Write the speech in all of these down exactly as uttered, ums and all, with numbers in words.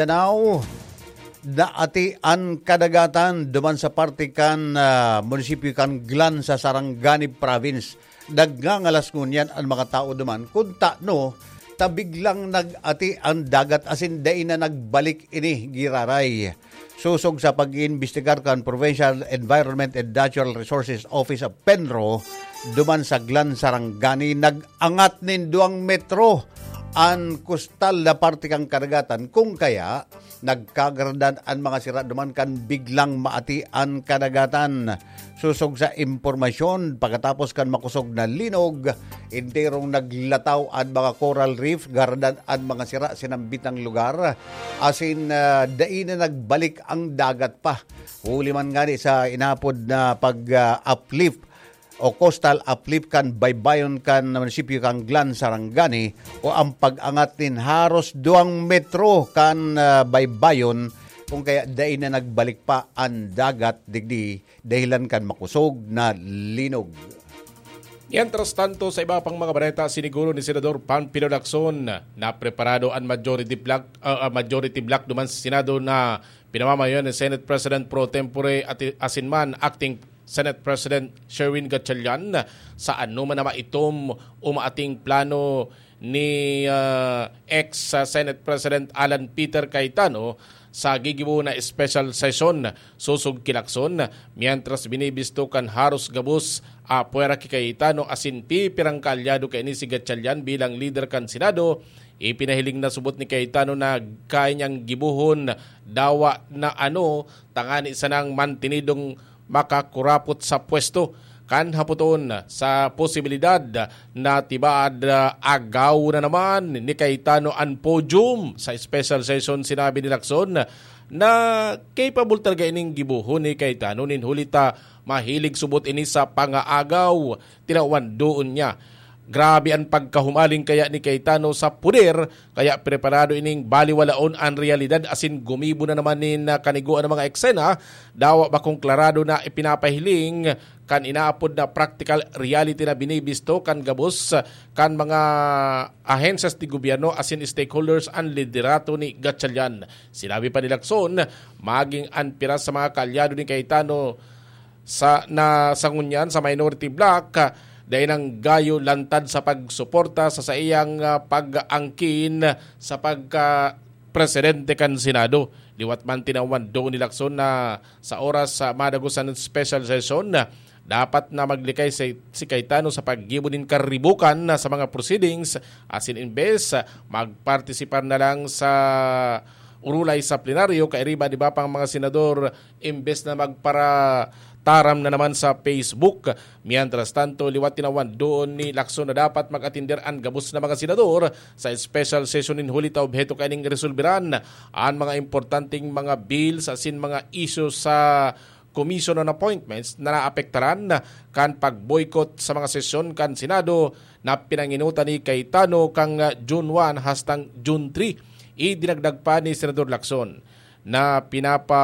Mindanao, naati an kadagatan duman sa parte kan, ah, munisipyo kan Glan sa Sarangani Province. Nagngangalas ngunyan an mga tao duman kun tano ta biglang nag-ati an dagat asin dai na nagbalik ini giraray. Sosog sa pag-iimbestigar kan Provincial Environment and Natural Resources Office of PENRO, duman sa Glan Sarangani, nag-angat nin duwang metro an kustal na parte kan kadagatan. Kung kaya, nagkagaradan an mga sira duman kan biglang maati an kadagatan. Sosog sa impormasyon, pagkatapos kan makosog na linog, enterong naglataw an mga coral reef, garadan an mga sira sa nambitang lugar, asin, ah, dai na nagbalik ang dagat pa. Huli man ngani sa inapod na pag, ah, uplift o coastal uplift kan baybayon kan munisipyo kan Glan Sarangani o ang pag-angat nin haros duwang metro kan, ah, baybayon, kung kaya dai na nagbalik pa an dagat digdi dahilan kan makosog na linog. Mientras tanto, sa iba pang mga bareta, siniguro ni Senador Panfilo Lacson na preparado an majority bloc, ah, ah, majority bloc duman sa Senado na pinamamayoan ni Senate President pro tempore at asin man acting Senate President Sherwin Gatchalian sa anoman na maitom o maating plano ni, ah, ex, ah, Senate President Alan Peter Cayetano sa gigibo na special session sosog ki Lacson, mientras binibisto kan haros gabos apwera ki Cayetano asin pipirang kaalyado kaini si Gatchalian bilang lider kan Senado. Ipinahiling na subot ni Cayetano na kaya niyang gibohon dawa na ano tangani sanang mantinidong makakurapot sa pwesto. Kan hapoton sa posibilidad na tibaad, ah, agaw na naman ni Cayetano an podium sa special session, sinabi ni Lacson na capable talaga ining gibohon ni Cayetano nin huli ta mahilig subot ini sa pangaagaw, tinawan doon niya. Grabe an pagkahumaling kaya ni Cayetano sa poder, kaya preparado ining baliwalaon an realidad asin gumibo na naman nin, ah, kanigoan na mga eksena. Dawa bakong klarado na ipinapahiling kan inaapod na practical reality na binibisto kan gabos kan mga ahensyas de gobyerno asin stakeholders an liderato ni Gatchalian. Sinabi pa ni Lacson, maging an piras sa mga kaalyado ni Cayetano sa, na sa ngunyan sa minority bloc, dai nang gayo lantad sa pagsuporta sa saiyang, ah, pag-angkin sa pagka presidente kan Senado. Liwat man tinawan doon ni Lacson na sa oras sa madagos an special session, dapat na maglikay si, si Cayetano sa paggibo nin karibukan na sa mga proceedings, asin imbes, magpartisipar na lang sa urulay sa plenaryo, kairiba, di ba, pang mga senador, imbes na magparataram na naman sa Facebook. Mientras tanto, liwat tinawan doon ni Lacson na dapat mag-atender an gabos na mga senador sa special session nin huli ta obheto kaining resolberan an mga importanteng mga bills asin mga isyu sa Commission on Appointments na naapektaran kan pag-boycott sa mga sesyon kan Senado na pinanginutan ni Cayetano kan June one hastang June three. Idinagdag pa ni Senador Lacson na pinapa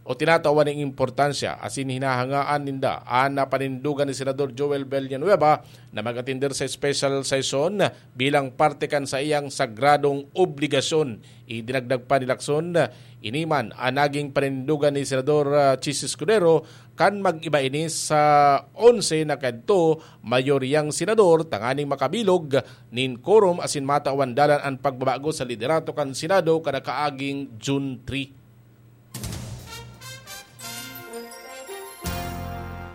o tinatawan ning importansya asin hinahangaan ninda an panindugan ni Senador Joel Villanueva na mag-atender sa special session bilang parte kan saiyang sagradong obligasyon. Idinagdag pa ni Lacson, ini man an naging panindugan ni Senador, ah, Chiz Escudero kan mag-iba ini sa onse na kadto mayoryang senador tanganing makabilog nin quorum asin matawan dalan an pagbabago sa liderato kan Senado kada kaaging June three.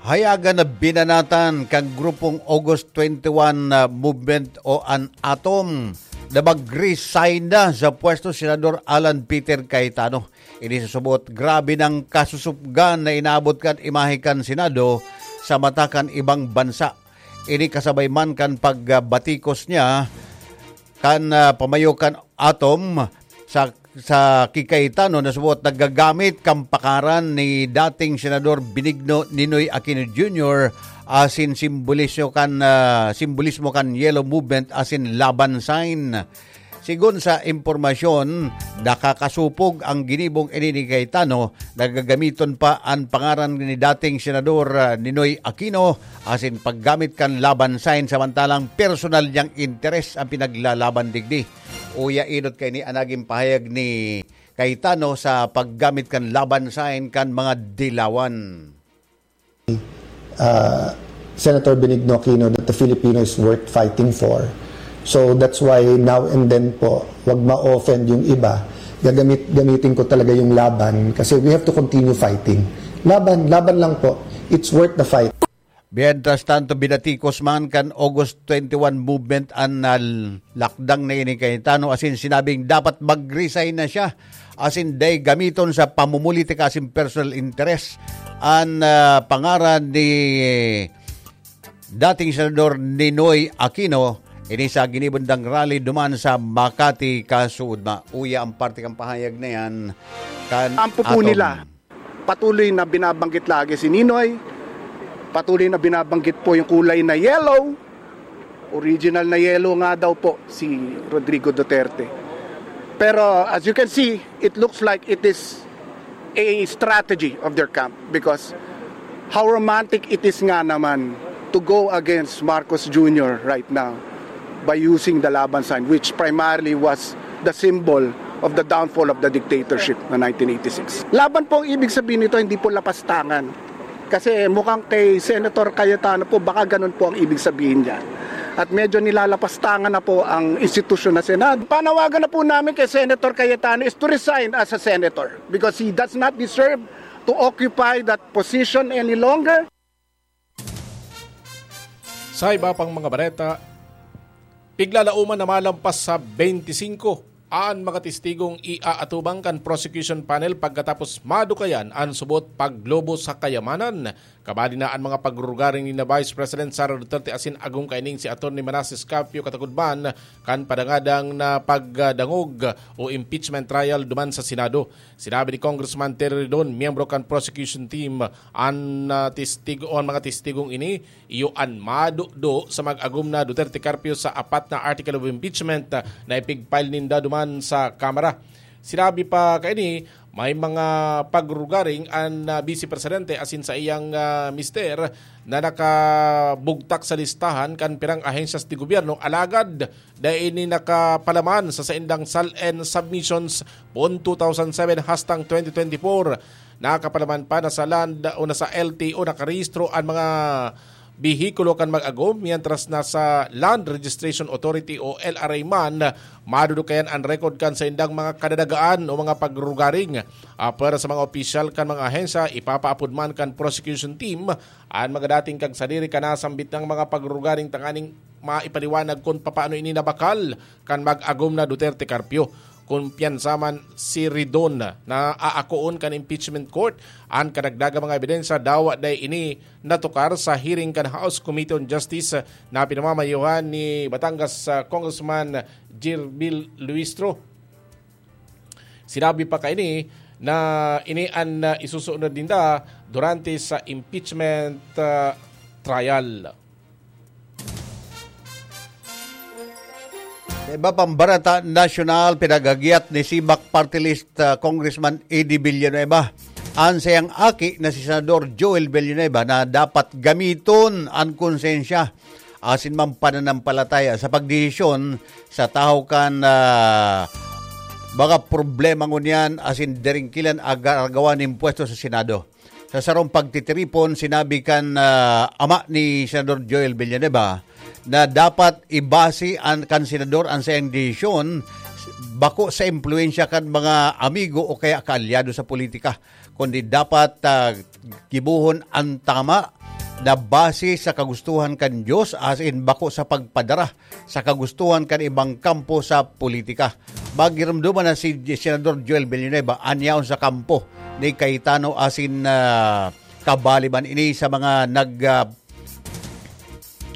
Hayagan na binanatan kan grupong August twenty-one na movement o an ATOM na mag-resign na sa pwesto Senador Alan Peter Cayetano. Ini sa subot, grabe nang kasusupgan na inabot kan imahe kan Senado sa mata kan ibang bansa. Ini kasabay man kan pagbatikos niya kan, ah, pamayo kan ATOM sa, sa ki Cayetano na subot naggagamit kan pangaran ni dating Senador Benigno Ninoy Aquino Junior asin simbolismo kan, ah, simbolismo kan Yellow Movement asin Laban Sign. Sigon sa impormasyon, nakakasupog ang ginibong ini ni Cayetano, nagagamiton pa an pangaran ni dating Senador, ah, Ninoy Aquino asin paggamit kan Laban Sign, samantalang personal niyang interes ang pinaglalaban digdi. Uya, Idot, kaini an nagin pahayag ni Cayetano sa paggamit kan laban sign kan mga dilawan. Uh, Senator Benigno Aquino, that the Filipino is worth fighting for. So that's why now and then po, wag ma-offend yung iba. Gagamit, gamitin ko talaga yung laban kasi we have to continue fighting. Laban, laban lang po. It's worth the fight. Mientras tanto, binatikos man kan August twenty-one movement an, ah, lakdang na ini kay Cayetano, asin sinabing dapat mag-resign na siya, asin dai gamiton sa pamumulitika asin personal interest an, ah, pangaran ni dating Senador Ninoy Aquino. Ini sa ginibundang rally duman sa Makati kasuodma. Uya ang parte kan pahayag na yan kan Ampo po aton. Nila. Patuloy na binabanggit lagi si Ninoy. Patuloy na binabanggit po yung kulay na yellow. Original na yellow nga daw po si Rodrigo Duterte. Pero as you can see, it looks like it is a strategy of their camp because how romantic it is nga naman to go against Marcos Junior right now by using the Laban sign, which primarily was the symbol of the downfall of the dictatorship na nineteen eighty-six. Laban po ang ibig sabihin nito, hindi po lapastangan. Kasi mukhang kay Senator Cayetano po, baka ganun po ang ibig sabihin niya. At medyo nilalapastangan na po ang institusyon na Senado. Panawagan na po namin kay Senator Cayetano is to resign as a senator because he does not deserve to occupy that position any longer. Sa iba pang mga bareta, piglalaoman na malampas sa twenty-five an mga testigong iaatubang kan prosecution panel pagkatapos madukayan an subot paglobo sa kayamanan. Kabali na an mga pagrurugaring ni na Vice President Sara Duterte asin agom kaining si Attorney Manasseh Carpio katagod man kan padangadang na pagdangog o impeachment trial duman sa Senado. Sinabi ni Congressman Terry Ridon, miyembro kan prosecution team, an, ah, testigo, an mga testigong ini, iyo an madudo sa mag-agom na Duterte Carpio sa apat na article of impeachment, ah, na ipig-file ninda duman sa Kamara. Sinabi pa kaini, may mga pagrugaring an, ah, Vice Presidente asin sa iyang, ah, mister na nakabugtak sa listahan kan pirang ahensyas de gobyerno, alagad dai ini nakapalaman sa saindang SALN submissions poon two thousand seven hastang twenty twenty-four. Nakapalaman pa na sa land o na sa L T O nakarehistro an mga behikulo kan mag-agom, mientras na sa Land Registration Authority o L R A man, madudukayan an record kan saindang mga kadadagaan o mga pagrugaring. Ah, para sa mga opisyal kan mga ahensya, ipapaapod man kan prosecution team an mga dating kag sadiri kan nasambit nang mga pagrugaring tanganing maipaliwanag kun papaano ini nabakal kan mag-agom na Duterte Carpio. Kumpiyansa man si Ridon na aakoon kan impeachment court an kadagdagang mga ebidensya, dawa dai ini natukar sa hearing kan House Committee on Justice na pinamamayohan ni Batangas, ah, Congressman Jirbil Luistro. Sinabi pa kaini na ini an, ah, isusunod ninda durante sa impeachment, ah, trial. Sa iba pang bareta nasyonal, pinaghagiat ni CBAC Party List, ah, Congressman Eddie Villanueva an sayang aki na si Senador Joel Villanueva na dapat gamiton an konsensya asin man pananampalataya sa pagdesisyon sa tahaw kan, ah, mga problema ngunyan asin daringkilan agaragawan nin pwesto sa Senado. Sa sarong pagtitiripon, sinabi kan, ah, ama ni Senador Joel Villanueva na dapat ibase an, kan senador an saiyang desisyon bako sa impluwensya kan mga amigo o kaya kaalyado sa politika, kundi dapat, ah, gibohon an tama na base sa kagustuhan kan Dios asin bako sa pagpadara sa kagustuhan kan ibang kampo sa politika. Magirumduman na si Senador Joel Villanueva an yaon sa kampo ni Cayetano asin, ah, kabali man ini sa mga nag, ah,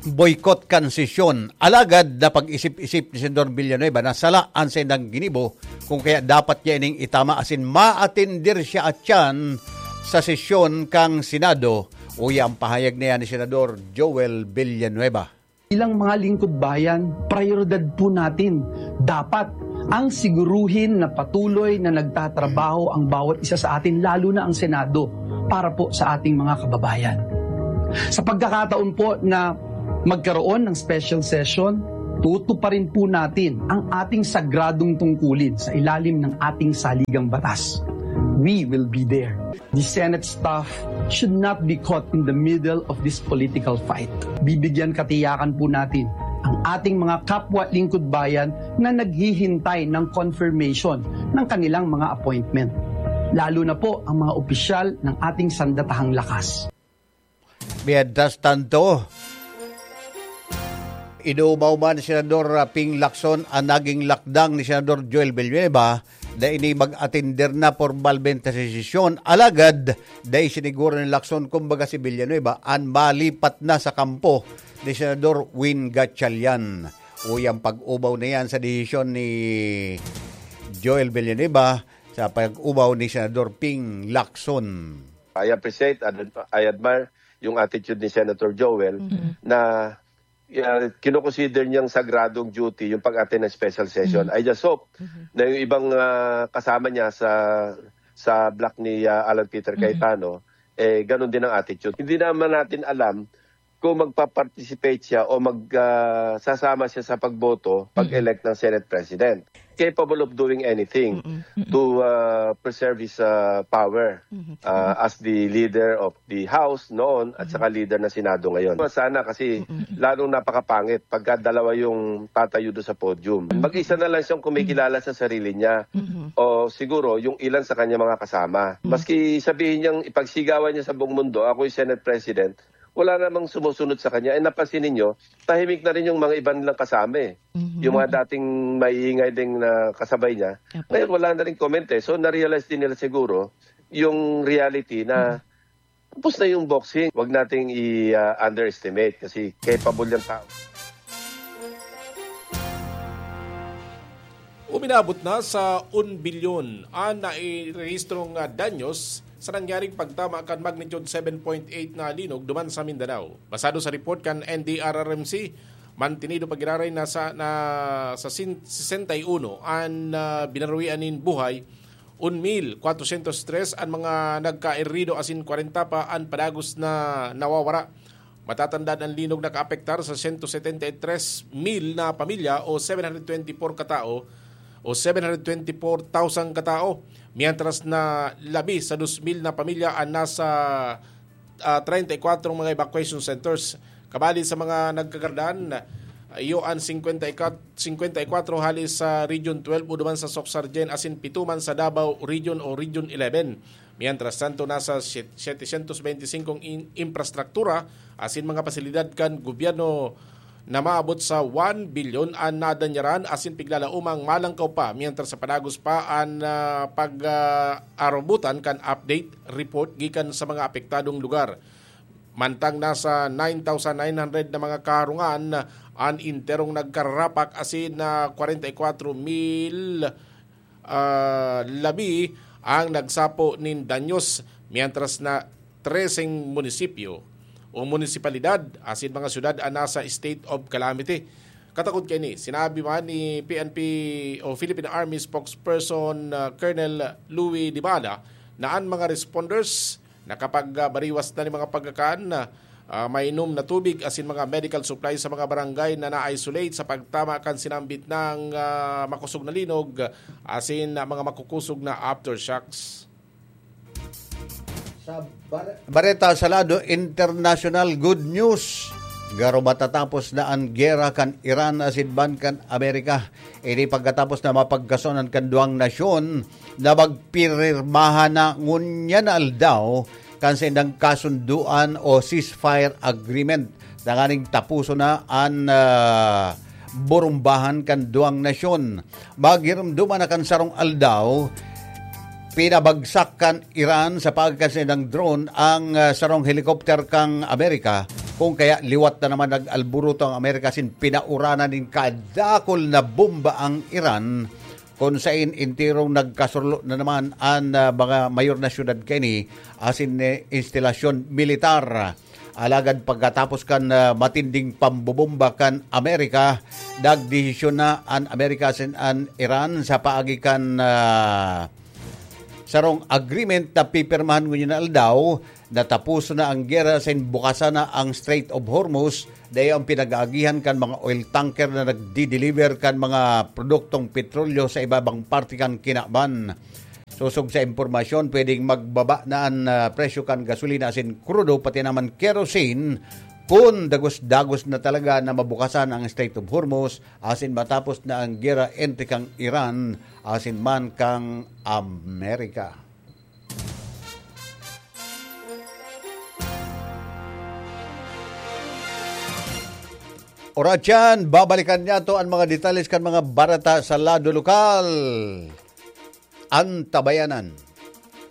boycott kan sesyon. Alagad na pag-isip-isip ni Senador Villanueva na sala an saindang ginibo, kung kaya dapat niya ining itama asin maatendir siya atyan sa sesyon kan Senado. Uya ang pahayag niya ni Senador Joel Villanueva. Bilang mga lingkod bayan, prioridad po natin dapat ang siguruhin na patuloy na nagtatrabaho ang bawat isa sa atin, lalo na ang Senado, para po sa ating mga kababayan. Sa pagkakataon po na magkaroon ng special session, Tutuparin po natin ang ating sagradong tungkulin sa ilalim ng ating saligang batas. We will be there. The Senate staff should not be caught in the middle of this political fight. Bibigyan katiyakan po natin ang ating mga kapwa lingkod bayan na naghihintay ng confirmation ng kanilang mga appointment, lalo na po ang mga opisyal ng ating sandatahang lakas. Mientras tanto, inumaw man ni Senador Ping Lacson ang naging lakdang ni Senador Joel Villanueva na ini mag-atender na pormalmente sa sesyon. Alagad, dai siniguro ni Lacson, kumbaga si Villanueva, an malipat na sa kampo ni Senador Win Gatchalian. Uy, ang pag-ubaw na yan sa desisyon ni Joel Villanueva sa pag-ubaw ni Senador Ping Lacson. I appreciate and I admire yung attitude ni Senator Joel mm-hmm. na uh, kinukonsider niyang sagradong duty yung pag-attend ng special session. Mm-hmm. I just hope mm-hmm. na yung ibang uh, kasama niya sa sa block ni uh, Alan Peter mm-hmm. Cayetano, eh ganun din ang attitude. Hindi naman natin alam kung magpa-participate siya o mag uh, sasama siya sa pagboto pag-elect ng Senate President. Capable of doing anything mm-hmm. to uh, preserve his uh, power mm-hmm. uh, as the leader of the House noon at mm-hmm. saka leader ng Senado ngayon. Sana kasi mm-hmm. lalong napakapangit pagka dalawa yung tatayo doon sa podium. Mm-hmm. Mag-isa na lang siyang kumikilala mm-hmm. sa sarili niya mm-hmm. o siguro yung ilan sa kanya mga kasama. Mm-hmm. Maski sabihin niyang ipagsigawan niya sa buong mundo, ako'y Senate President, wala namang sumusunod sa kanya. Eh, napansin ninyo, tahimik na rin yung mga iba nilang kasama eh. Mm-hmm. Yung mga dating maiingay ding na kasabay niya, Apo. Ngayon wala na rin comment eh. So na-realize din nila siguro yung reality na mm-hmm. tapos na yung boxing. Huwag nating i-underestimate uh, kasi capable yung tao. Uminabot na sa un bilyon an nairehistrong danyos sa nangyaring pagtama kan magnitude seven point eight na linog duman sa Mindanao. Basado sa report kan N D R R M C, mantinido pa giraray na sa, na sa sesenta y uno an uh, binaruian nin buhay, un mil kwatrosyentos tres an mga nagkairido asin kwarenta pa an padagos na nawawara. Matatandaan an linog nakaapektar sa sento setenta y tres mil na pamilya o seven hundred twenty-four katao o seven hundred twenty-four thousand katao, mientras na labi sa dos mil na pamilya an nasa uh, treinta y kwatro mga evacuation centers. Kabali sa mga nagkagardan, iyo an singkwenta y kwatro hali sa Region twelve o duman sa Soc-Sargen asin pito man sa Davao Region o Region eleven. Mientras tanto, nasa setecientos beintisinko in, infrastruktura asin mga pasilidad kan gobyerno na maabot sa one bilyon an nadanyaran asin piglalaomang malangkaw pa mientras sa padagos pa an uh, pag-arobotan uh, kan update report gikan sa mga apektadong lugar. Mantang nasa nine thousand nine hundred na mga karungan an enterong nagkararapak asin na kwarenta y kwatro mil uh, labi ang nagsapo nin danyos, mientras na treseng munisipyo o munisipalidad asin mga syudad an nasa state of calamity. Katakod kaini, sinabi man ni P N P o Philippine Army spokesperson uh, Colonel Louis Dibala na an mga responders nakapagbariwas na nin mga pagkakan, uh, mainom na tubig asin mga medical supplies sa mga barangay na na-isolate sa pagtama kan sinambit na uh, makosog na linog asin uh, mga makukosog na aftershocks. Sa bar- Bareta sa lado internasyonal, good news. Garo matatapos na an gera kan Iran asin ban kan Amerika. Ini pagkatapos na mapagkasonan kan duwang nasyon na magpirmahan na ngunyan na aldaw kan saindang kasunduan o ceasefire agreement tanganing tapuson na an uh, burumbahan kan duwang nasyon. Maghirumduman na kan sarong aldaw, pinabagsak kan Iran sa pagkasi ng drone ang uh, sarong helicopter kang Amerika, kung kaya liwat na naman nag-alburuto ang Amerika sin pinauranan nin kadakol na bomba ang Iran, kung sain intirong nagkasurlo na naman ang uh, mga mayor na syudad kini asin uh, instalasyon militar. Alagad pagkatapos kan uh, matinding pambobomba kan Amerika, nagdesisyon na an Amerika asin an Iran sa paagi kan uh, sarong agreement na pipirmahan ngunyan na aldaw, natapos na ang gera asin bukasan na ang Strait of Hormuz, dai ang pinag-aagihan kan mga oil tanker na nagdi-deliver kan mga produktong petrolyo sa ibabang parte kan kinaban. Sosog sa impormasyon, pwedeng magbaba na an, ah, presyo kan gasolina asin krudo, pati naman kerosene, kun dagos-dagos na talaga na mabukasan ang Strait of Hormuz asin matapos na ang gera entre kang Iran asin man kang Amerika. Oratyan, babalikan niya to ang mga detalles kan mga bareta sa lado lokal. Antabayanan.